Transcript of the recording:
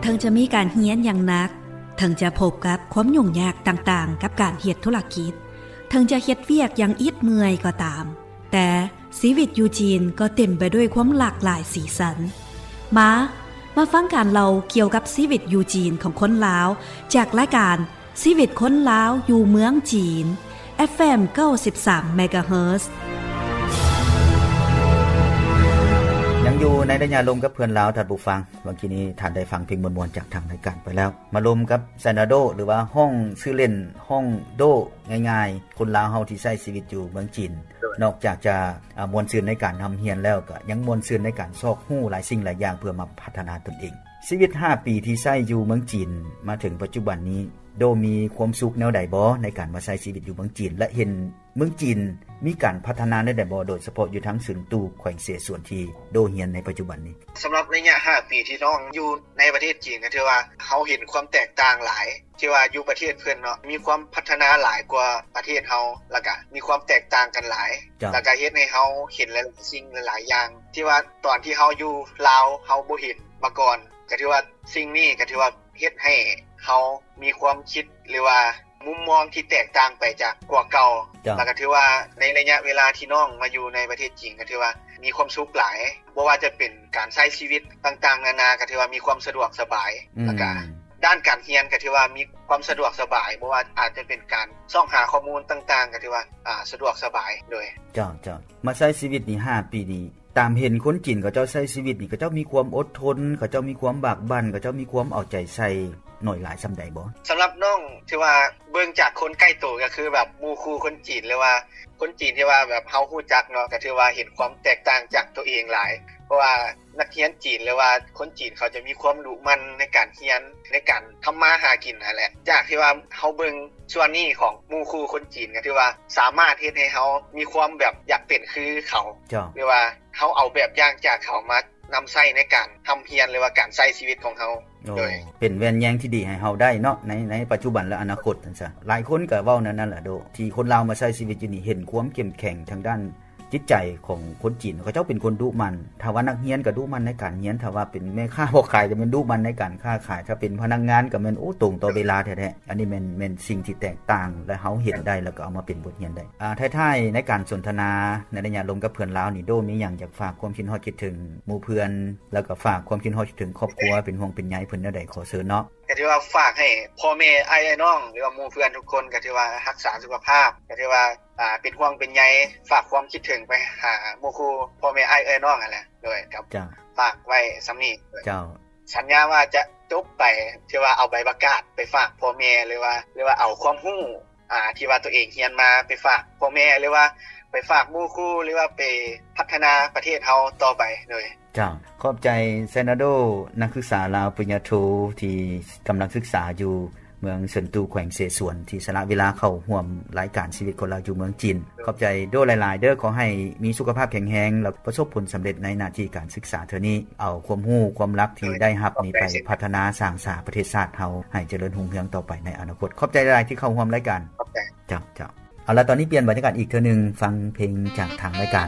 ເຖິງຈະມີການຮຽນຢ່າງໜັກ, ເຖິງຈະພົບກັບຄວາມຫຍຸ້ງຍາກຕ່າງໆກັບການເຮັດທຸລະກິດ, ເຖິງຈະເຮັດວຽກຢ່າງອິດເມື່ອຍກໍຕາມ, ແຕ່ຊີວິດຢູ່ຈີນກໍເຕັມໄປດ້ວຍຄວາມຫຼາກຫຼາຍສີສັນ. ມາ, ມາຟັງການເລົ່າກ່ຽວກັບຊີວິດຢູ່ຈີນຂອງຄົນລາວ ຈາກລາຍການ ຊີວິດຄົນລາວຢູ່ເມືອງຈີນ ເອັຟເອັມ ເກົ້າສິບສາມ ເມກາເຮີດ. ຍັງຢູ່ໃນໄລຍະລົມກັບເພື່ອນລາວ ທ່ານຜູ້ຟັງ. ເມື່ອກີ້ນີ້ທ່ານໄດ້ຟັງເພງມ່ວນໆຈາກທາງລາຍການໄປແລ້ວ. ມາລົມກັບ Xanado ຫຼືວ່າຮ້ອງຊື່ເລ່ນ ຮ້ອງໂດ ງ່າຍໆ, ຄົນລາວເຮົາທີ່ໃຊ້ຊີວິດຢູ່ເມືອງຈີນ ໂດຍ ນອກຈາກຈະ ອາ ມ່ວນຊື່ນໃນການຮ່ຳຮຽນແລ້ວ ກໍຍັງມ່ວນຊື່ນໃນການຊອກຮູ້ຫຼາຍສິ່ງຫຼາຍຢ່າງເພື່ອມາພັດທະນາຕົນເອງ. ຊີວິດຫ້າປີທີ່ໃຊ້ຢູ່ເມືອງຈີນມາເຖິງປັດຈຸບັນນີ້ ໂດມີຄວາມສຸກແນວໃດບໍ່ໃນການມາໃຊ້ຊີວິດຢູ່ເມືອງຈີນ ແລະ ເຫັນເມືອງຈີນມີການພັດທະນາແນວໃດບໍ່ ໂດຍສະເພາະຢູ່ທາງເຊິນຕູແຂວງເສສວນທີ່ໂດຮຽນໃນປັດຈຸບັນນີ້? ສຳລັບໄລຍະຫ້າປີທີ່ນ້ອງຢູ່ໃນປະເທດຈີນ ກໍຖືວ່າເຮົາເຫັນຄວາມແຕກຕ່າງຫຼາຍ ທີ່ວ່າຢູ່ປະເທດເພິ່ນເນາະ ມີຄວາມພັດທະນາຫຼາຍກວ່າປະເທດເຮົາ ແລ້ວກະມີຄວາມແຕກຕ່າງກັນຫຼາຍ ເຈົ້າ ແລ້ວກະເຮັດໃຫ້ເຮົາເຫັນຫຼາຍໆສິ່ງຫຼາຍໆຢ່າງ ທີ່ວ່າຕອນທີ່ເຮົາຢູ່ລາວເຮົາບໍ່ເຫັນມາກ່ອນ ກໍຖືວ່າສິ່ງນີ້ກໍຖືວ່າເຮັດໃຫ້ເຮົາມີຄວາມຄິດ ຫຼືວ່າມຸມມອງທີ່ແຕກຕ່າງໄປຈາກກວ່າເກົ່າ ເຈົ້າ ແລ້ວກໍຖືວ່າໃນໄລຍະເວລາທີ່ນ້ອງມາຢູ່ໃນປະເທດຈີນ ກໍຖືວ່າມີຄວາມສຸກຫຼາຍ ບໍ່ວ່າຈະເປັນການໃຊ້ຊີວິດຕ່າງໆນານາ ກໍຖືວ່າມີຄວາມສະດວກສະບາຍ ອືມ ແລ້ວກະ ດ້ານການຮຽນກໍຖືວ່າມີຄວາມສະດວກສະບາຍ ບໍ່ວ່າອາດຈະເປັນການຊອກຫາຂໍ້ມູນຕ່າງໆ ກໍຖືວ່າ ອາ ສະດວກສະບາຍ ໂດຍ ເຈົ້າ ເຈົ້າ ມາໃຊ້ຊີວິດນີ້ຫ້າປີນີ້ ຕາມເຫັນຄົນຈີນເຂົາເຈົ້າໃຊ້ຊີວິດນີ້ ເຂົາເຈົ້າມີຄວາມອົດທົນ ເຂົາເຈົ້າມີຄວາມບາກບັ່ນ ເຂົາເຈົ້າມີຄວາມເອົາໃຈໃສ່ໜ້ອຍຫຼາຍສ່ຳໃດບໍ່? ສຳລັບນ້ອງ ຖືວ່າເບິ່ງຈາກຄົນໃກ້ໂຕ ກໍຄືແບບໝູ່ຄູ່ຄົນຈີນ ຫຼືວ່າຄົນຈີນທີ່ວ່າແບບເຮົາຮູ້ຈັກເນາະ ກໍຖືວ່າເຫັນຄວາມແຕກຕ່າງຈາກຕົວເອງຫຼາຍ ເພາະວ່າ ນັກຮຽນຈີນ ຫຼືວ່າຄົນຈີນເຂົາຈະມີຄວາມດຸໝັ່ນໃນການຮຽນ ໃນການທຳມາຫາກິນຫັ້ນແຫຼະ ຈາກທີ່ວ່າເຮົາເບິ່ງສ່ວນນີ້ຂອງໝູ່ຄູ່ຄົນຈີນ ກໍຖືວ່າສາມາດເຮັດໃຫ້ເຮົາມີຄວາມແບບຢາກເປັນຄືເຂົາ ເຈົ້າ ຫຼືວ່າເຮົາເອົາແບບຢ່າງຈາກເຂົາມານຳໃຊ້ໃນການຮ່ຳຮຽນ ຫຼືວ່າການໃຊ້ຊີວິດຂອງເຮົາ ໂດຍ ເປັນແວ່ນແຍງທີ່ດີໃຫ້ເຮົາໄດ້ເນາະ ໃນ ໃນປັດຈຸບັນ ແລະ ອະນາຄົດ ຈັ່ງຊັ້ນ. ຫຼາຍຄົນກໍເວົ້າແນວນັ້ນລະໂດ ທີ່ຄົນລາວມາໃຊ້ຊີວິດຢູ່ນີ້ ເຫັນຄວາມເຂັ້ມແຂງທາງດ້ານ ຈິດໃຈຂອງຄົນຈີນ ເຂົາເຈົ້າເປັນຄົນດຸໝັ່ນ ຖ້າວ່ານັກຮຽນກໍດຸໝັ່ນໃນການຮຽນ ຖ້າວ່າເປັນແມ່ຄ້າພໍ່ຂາຍກໍແມ່ນດຸໝັ່ນໃນການຄ້າຂາຍ ຖ້າເປັນພະນັກງານກໍແມ່ນ ໂອ້ ຕົງຕໍ່ເວລາແທ້ໆ. ອັນນີ້ແມ່ນ ແມ່ນສິ່ງທີ່ແຕກຕ່າງ ແລະ ເຮົາເຫັນໄດ້ ແລ້ວກໍເອົາມາເປັນບົດຮຽນໄດ້. ອາ ທ້າຍໆ ໃນການສົນທະນາໃນໄລຍະລົມກັບເພື່ອນລາວນີ້ ໂດມີຫຍັງຢາກຝາກຄວາມຄິດຮອດຄິດເຖິງໝູ່ເພື່ອນ ແລ້ວກໍຝາກຄວາມຄິດຮອດຄິດເຖິງຄອບຄົວ ເປັນຫ່ວງເປັນໃຍເພິ່ນແນວໃດ ຂໍເຊີນເນາະ. ກໍຖືວ່າຝາກໃຫ້ພໍ່ແມ່ອ້າຍເອື້ອຍນ້ອງ ຫຼືວ່າໝູ່ເພື່ອນທຸກຄົນ ກໍຖືວ່າຮັກສາສຸຂະພາບ ກໍຖືວ່າ ອ່າ ເປັນຫ່ວງເປັນໃຍ ຝາກຄວາມຄິດເຖິງໄປຫາໝູ່ຄູ່ພໍ່ແມ່ອ້າຍເອື້ອຍນ້ອງຫັ້ນແຫຼະ ໂດຍ ກໍ ເຈົ້າ ຝາກໄວ້ສ່ຳນີ້ ເຈົ້າ ສັນຍາວ່າຈະຈົບໄປ ຖືວ່າເອົາໃບປະກາດໄປຝາກພໍ່ແມ່ ຫຼືວ່າ ຫຼືວ່າເອົາຄວາມຮູ້ ອ່າ ທີ່ວ່າຕົວເອງຮຽນມາໄປຝາກພໍ່ແມ່ ຫຼືວ່າໄປຝາກໝູ່ຄູ່ ຫຼືວ່າໄປພັດທະນາປະເທດເຮົາຕໍ່ໄປ ໂດຍ ເຈົ້າ ຂອບໃຈ Xanado ນັກສຶກສາລາວປະລິນຍາໂທ ທີ່ກຳລັງສຶກສາຢູ່ເມືອງເຊິນຕູ ແຂວງເສສວນ ທີ່ສະຫຼະເວລາເຂົ້າຮ່ວມລາຍການຊີວິດຄົນລາວຢູ່ເມືອງຈີນ. ຂອບໃຈໂດຫຼາຍໆເດີ ຂໍໃຫ້ມີສຸຂະພາບແຂງແຮງ ແລ້ວປະສົບຜົນສຳເລັດໃນໜ້າທີ່ການສຶກສາເທື່ອນີ້ ເອົາຄວາມຮູ້ຄວາມລັບທີ່ໄດ້ຮັບນີ້ໄປພັດທະນາສ້າງສາປະເທດຊາດເຮົາໃຫ້ຈະເລີນຮຸ່ງເຮືອງຕໍ່ໄປໃນອະນາຄົດ. ຂອບໃຈຫຼາຍໆທີ່ເຂົ້າຮ່ວມລາຍການ. ຂອບໃຈ. ເຈົ້າ ເຈົ້າ. ເອົາລະ ຕອນນີ້ປ່ຽນບັນຍາກາດອີກເທື່ອໜຶ່ງ ຟັງເພງຈາກທາງລາຍການ